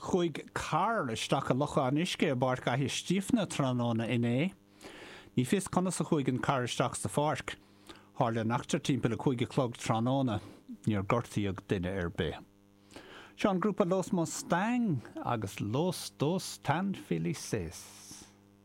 Chuaigh carr isteach i lochán uisce i bPáirc Fhaiche Stiabhna tráthnóna inné. Ní fios conas a chuaigh an carr isteach sa pháirc. Tharla an eachtra timpeall 5 a chlog tráthnóna. Níor gortaíodh duine ar bith. Seo an grúpa Los Mustang agus Los Dos Tan Felices.